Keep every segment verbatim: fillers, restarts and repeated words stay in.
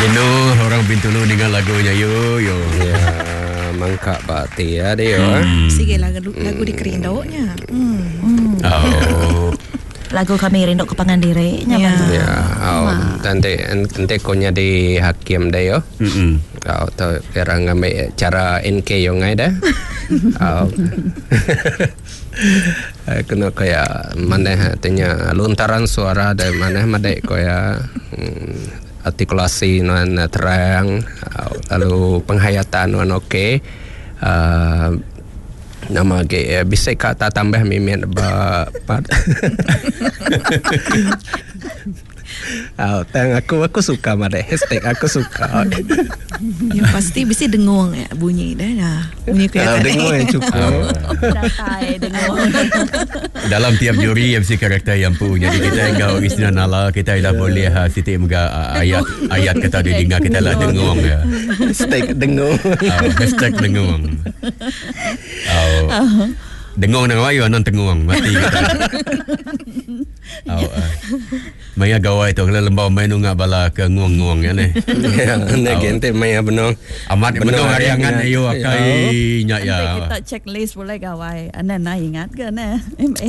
Jenuh orang Bintulu dengan lagunya yo yo. Ya, mangkak bakti ya dia. Hmm. Sige lagu lagu dikerinduknya. Hmm. Oh. Lagu kami rindu ke pangan diri nya. Ya. Ya, oh, nanti nanti konya di hakim dah yo. Mm. Oh, tu kira ngambil cara N K yo ngai dah. Oh. Kena kaya mana tanya lontaran suara dari mana madai kaya hmm, artikulasi nuan terang, lalu penghayatan nuan okey. Uh, nama ke bisa kata tambah mimin ba part. Oh, tang aku aku suka madai hashtag aku suka. Ya pasti bisa dengung ya bunyi dah nah. Bunyi Kalau dengung yang cukup. Datai dengung. Dalam tiap juri M C karakter yang punya. Jadi kita enggau Isna Nala kita dah boleh ha, sitik mega ayat ayat kita didengar kita lah dengung ya. Hashtag dengung. Oh, hashtag dengung. Oh. Dengung nang wayu anan tengung mati kita. Oh, uh. Maya gawai tu kalau lembau main nungak bala ke nguang-nguang ya ni. Ya, ne gente maya benong. Amat benong hari angan ayo akai nyak ya. Kita checklist boleh gawai. Ana nak ingat ke ne? M A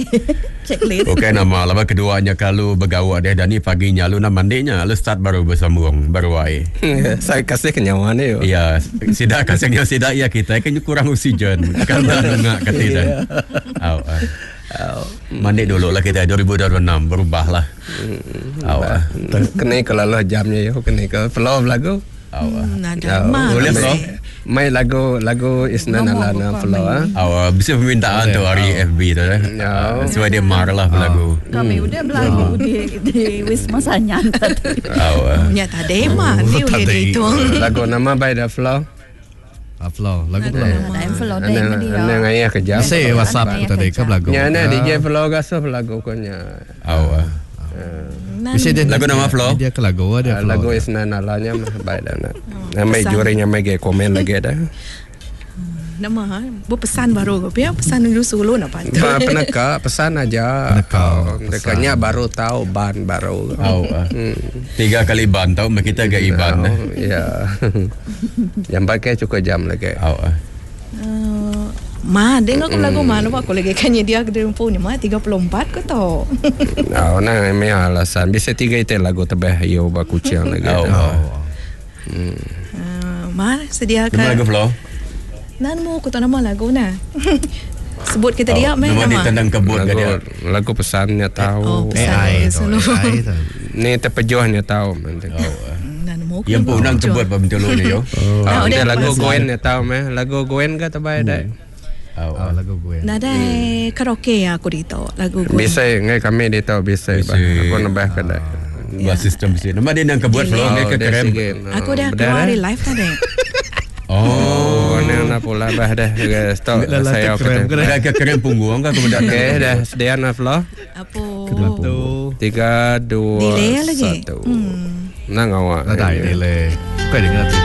checklist. Okey nama lama keduanya kalau bergawak dia dan ni paginya lu nak mandinya lu start baru bersambung baru ai. Saya kasih kenyawa ni. Ya, sidak kasih nyawa sidak ya kita kan kurang oksigen. Kan dah nungak kata dah. Oh, uh. Oh. Mandi dulu lah kita dua ribu dua puluh enam berubah lah. Oh, uh. Kena kalau lah jamnya yo kena ke flow lagu. Oh, uh. Nada. Boleh flow. Mai lagu lagu Isna Nala na flow ah. Oh, bisa permintaan tu hari F B tu eh. Sebab dia marah lah lagu. Kami udah belagu di di Wisma Sanyan tadi. Oh. Nya tadi mah ni boleh dihitung. Lagu nama by the flow. Flow lagu flow. Flow deh dia. Ana ngayah kejap. Saya WhatsApp tadi ke lagu. Nya ana D J flow gasuh lagu konya. Oh. Bisa dia lagu nama flow. Dia ke lagu dia flow. Lagu Isna Nalanya mah baik dah nak. Nama jurinya mai ge komen lagi dah. Nama ha, bu pesan baru ke ya pesan dulu solo nak patut. Ba peneka pesan aja. Penekanya baru tahu ban baru. Oh. Tiga kali ban tahu kita ge iban. Ya. Jam pakai cukup jam lagi. Oh. Uh, ma, dengar aku lagu mana aku lagi kan dia ke punya ma tiga puluh empat ke tau. Oh, nah ini alasan bisa tiga itu lagu tebeh yo baku kucing lagi. Oh. Hmm. Uh, ma sediakan. Nama lagu flow. Nan mu aku tak nama lagu nah. Sebut kita dia meh nama. Nama ditendang kebun ke dia. Lagu pesannya tahu. Oh, pesan A I tu. A I tu. Ni terpejuhnya tahu. Oh. Yang pun unang kebun pa Bintulu ni yo. Oh, dia lagu Gwen nya tahu meh. Lagu Gwen ke terbaik dah. Oh, lagu Gwen. Nadai karaoke aku di tahu lagu Gwen. Bisa ngai kami di tahu bisa. Aku nambah ke dah. Buat sistem sih. Nama dia nang kebun flow ngai ke krem. Aku dah keluar dari live tadi. Oh, ni nak pula bah dah. Stop saya kena ke krem punggung ke kemudian. Okey dah sedia nak flow. Apa? Tiga dua satu. Nang awak. Nadai delay. Kau dengar tu.